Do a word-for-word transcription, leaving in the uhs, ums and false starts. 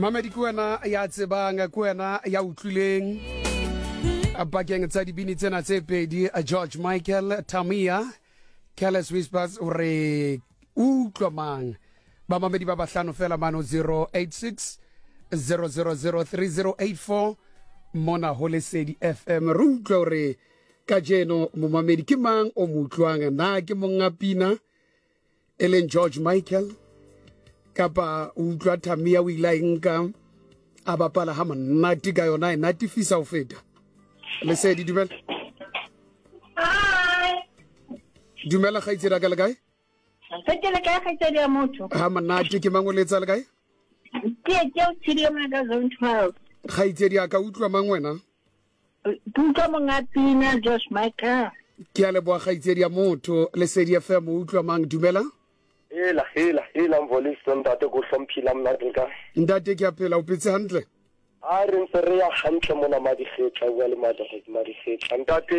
Mamedi, ke wena ya tsebang, ke wena ya utlwileng pakeng tsa dibini tsena tse pedi, George Michael, Tamia, Careless Whispers, hore utlwa mang. Bamamedi ba bahlano fela mano zero eight six zero zero zero three zero eight four mona ho Lesedi F M. Re utlwe hore kajeno momamedi ke mang o mo utlwang, na ke monga pina e leng George Michael, kapa o utlwa Tamia? O ile a e nka a bapala ha monate ka yona, e natifisa ho feta. Lesedi, dumela. Hi. Dumela kgaitsedi ka, le kae? Se ke le kae, kgaitsedi ya motho? Ha monate. Ke mang, o letsa le kae? Ke ke o tshidi mona ka zone twelve. Kgaitsedi a ka, utlwa mang wena? Ke utlwa monga pina, George Michael. Ke a leboha, kgaitsedi ya motho. Lesedi F M, o utlwa mang? Dumela. Hela, hela, hela, Mvoliso, ntate, ko hlomphile, monate ka. Ntate, ke a phela. O phetse hantle? A re ntse re ya hantle mona Madigetla, bua le Madigetla, ntate.